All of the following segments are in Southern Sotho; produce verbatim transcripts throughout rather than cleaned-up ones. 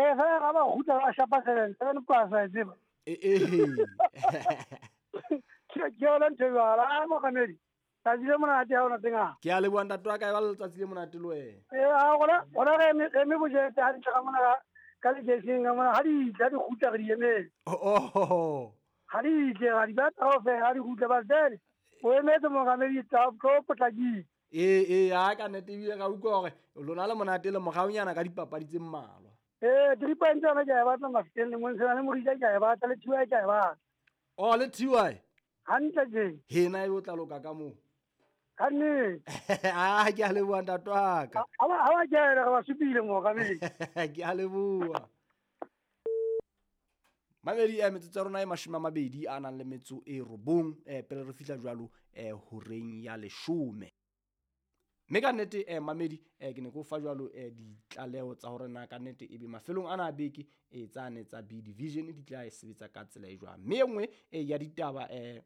Eh fela ga ba gutla ba shapa seven seven plus a tseba. Eh eh. Ke ke yona ntho jwalo a mokamedi. Tsatsi le monate ha ona teng a. Ke a leboha ntate wa ka e ba letsatsi le monate le wena. Eh a gona gona re eme re eme bojete ha di tla mona ka ka lekeisheneng ka mona ha di tla di kgutla re di emetse. Oh oh. Ha di tle ha di batla ho fela ha di kgutla ba tsele. O emetse mokamedi tsa tlo potlakile. Ee ee a ka nnete ebile ka utlwa hore lona le monate le moraonyana ka dipapadi tse mmalwa. Eh three points tsona ke a e batla Mafikeng le Monsena le Morija ke a e batla le T Y ke a e batla. Oh le T Y. Hantle tje. Hena e o tla loka ka moo. Ka nnete. Ah ke a leboha ntate wa ka. Ha ba ha ba kena re ba supile mokamedi. Ke a leboha. Mamedi eh metsotso ya rona e mashome a mabedi a nang le metso e robong eh pele re fihla jwalo eh horeng ya leshome. Mme ka nnete eh mamedi eh ke ne ke o fa jwalo eh ditlaleho tsa hore na ka nnete ebe mafelong ana a beke eh tsane tsa B division di tla e sebetsa ka tsela e jwang. Mme e nngwe eh ya ditaba eh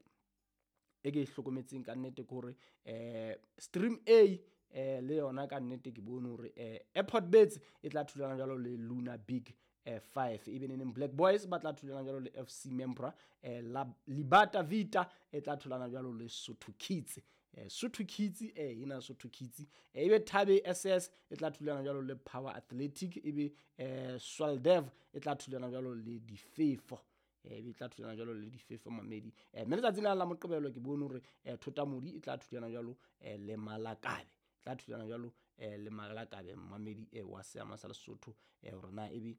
e ke e hlokometseng ka nnete ke hore eh Stream A eh le yona ka nnete ke bone hore eh Airport Birds e tla thulana jwalo le Luna Big eh five ebe neneng Black Boys ba tla thulana jwalo le F C Membra eh la Libata Vita e tla thulana jwalo le Sotho Kids eh Sotho Kids eh ina Sotho Kids eh ebe Thabe S S e tla thulana jwalo le Power Athletic ebe eh Swaldev e tla thulana jwalo le Difefo eh ebe tla thulana jwalo le Difefo mamedi eh mme letsatsi la la Moqebelo ke bone hore eh Thotamodi e tla thulana jwalo eh le Malakabe tla thulana jwalo eh le Malakabe mamedi eh wa seama sa Lesotho eh hore na ebe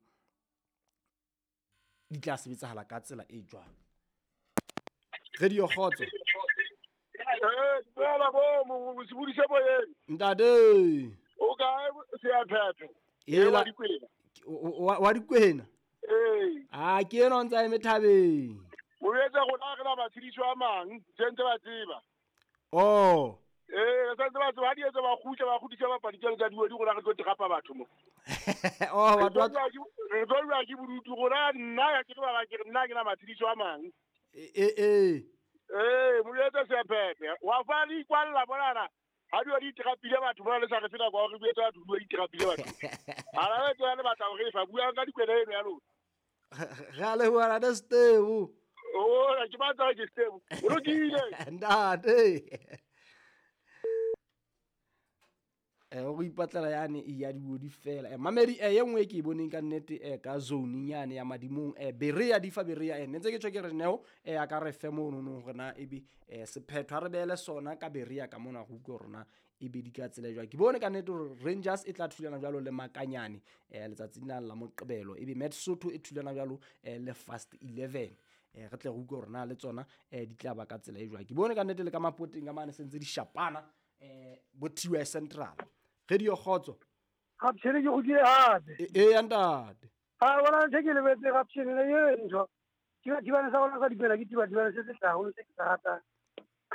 di tla sebetsahala ka tsela e jwang. Radio Kgotso. Eh dumela bo mo sebudise boyeng. Ntate. O kae Seaphephe? Ela wa Dikwena. Wa Dikwena. Eh. Ah ke ena o ntsa eme thabeng. O etsa rona re na matshediso a mang, tse ntse ba tseba. Oh. Eh, re santse ba tseba ha di etsa ba kgutla ba kgutisa bapadi tsena tsa diwedi rona re tlo terapa batho mo. Oh batho ba re tlo bua ke bodutu rona nna ya ke ba ke nna ke na matshediso a mang. Eh eh. Eh, mo etsa Seaphephe. Wa fa le ikwalla bonana. Ha di di terapile batho bona le sa re fela kwa re buetsa batho di terapile batho. Ha la tswa le batla hore fa buang ka dikwena eno ya lona. Re a leboha ntate Stevo. Oh, ke batla ke Stevo. O lokile. Ntate. Eh o ipatlela yane e ya diwodi fela. Eh mamedi eh e nngwe ke e boneng ka nnete eh ka zone nyane ya madimong eh Berea di fa Berea eh ntse ke tjho ke re neo eh a ka re fe mono no hore na ebe eh sephetho ha re beele sona ka Berea ka mona go utlwa rona ebe di ka tsela jwang. Ke bone ka nnete hore Rangers e tla thulana jwalo le Makanyane eh letsatsing la la Moqebelo ebe Met Sotho e thulana jwalo eh le Fast eleven. Eh re tle re utlwe hore na le tsona eh di tla ba ka tsela e jwang. Ke bone ka nnete le ka mapoteng ka mane sentse di shapana eh bo T Y Central. Radio Kgotso. Gapshene ke go kile hape. E e ntate. Ha bona ntse ke lebetse Gapshene le e ntho. Ke thibane sa bona sa dipela ke thiba thibane se se haholo se ke sa ratang.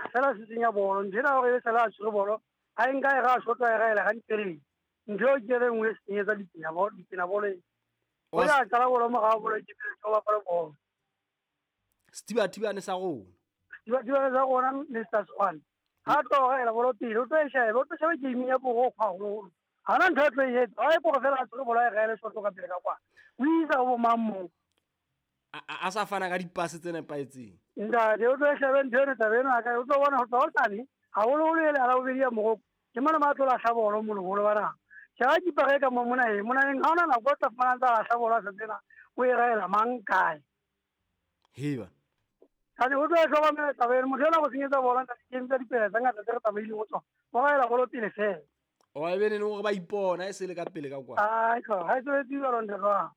Fela se senya bolo ntho ena hore e sala a tshwere bolo ha e nka e ra shota e raela hantle. Ntho ke re nngwe e senyetsa dipina bolo dipina bolo. O ya qala bolo morao bolo ke pele tsoba bolo bolo. Sethiba thibane sa rona. Sethiba thibane sa rona Mister Swan. Ha tlo raela bolo pele o tlo e shebe o tlo shebe game ya boro haholo. Ha na ntho e tlo e etsa ha e boro fela a tshwere bolo e raele shot ka pele ka kwa. O isa bo mang mo. A sa fana ka dipase tse nepahetseng. Ntate o tlo e shebe ntho ena taba ena ka o tlo bona ho tla ho tsane haholoholo ele ha la bobedi ya Morocco. Ke mona ma tlo lahla bolo moloholo ba naha. Sheba keeper e ka mo mona e mona eng ha ona nako o tla fumana ntsa lahla bolo a sa tsena o e raela mang kae. Heba. Kane o tlo e hlokomela taba ena motho ena go senyetsa bolo ntate ke ntse dipela tse ngata tse re tsamaileng ho tsona. Ba raela bolo pele fela. O e bene hore ba ipona e se le ka pele ka kwa. Ai ka ha e tswetse jwalo ntate wa.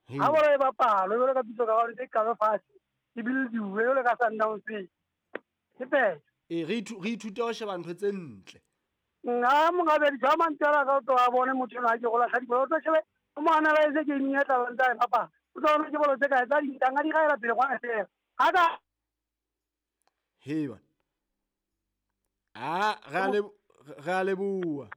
Ha bolo e bapalwe jwalo ka pitso ka hore e kabe fatshe e build-uwe jwalo ka Sundowns. Ke phetho. E re re ithute ho sheba ntho tse ntle. Nna mongabe di mantela ka to a bone motho ena ke go lahla dibolo tlo shebe o mo analyze game ya tla ntsa e bapala. O tlo bona ke bolo tse kae tsa dintanga di gaela pele kwa fela. Ha ka Heba. Ah, re le re le bua.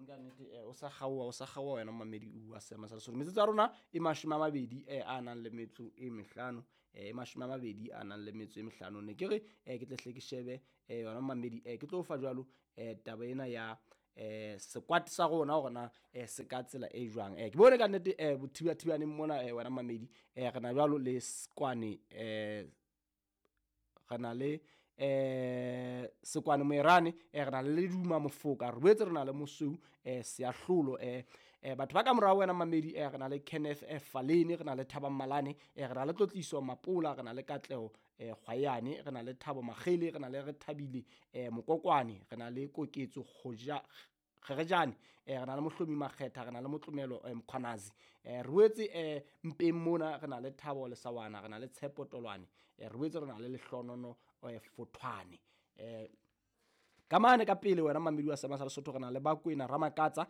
Nka nnete eh o sa kgaoha o sa kgaoha wena mamedi o a sema sa Lesotho. Metsotso ya rona e mashome a mabedi eh a nang le metso e mehlano eh e mashome a mabedi a nang le metso e mehlano. Ne ke re eh ke tle hle ke shebe eh yona mamedi eh ke tlo fa jwalo eh taba ena ya eh squad sa rona hore na eh se ka tsela e jwang. Eh ke bone ka nnete eh bothibathibaneng mona eh wena mamedi eh re na jwalo le Sekwane eh re na le eh Sekwane Moerane eh re na le Leduma Mofoka re boetse re na le Mosweu eh Seahlolo eh eh batho ba ka morao wena mamedi eh re na le Kenneth eh Faleni re na le Thabang Malane eh re na le Tlotliso Mapola re na le Katleho eh Kgwayane re na le Thabo Makgele re na le Rethabile eh Mokokwane re na le Koketso Kgoja Kgerejane eh re na le Mohlomi Makgetha re na le Motlomelo eh, Mkhwanazi eh re boetse eh mpeng mona re na le Thabo Lesawana re na le Tshepo Tolwane eh re boetse re na le Lehlonono eh Fothwane eh ka mane ka pele wena mamedi wa Seema sa Lesotho re na le Bakwena Ramakatsa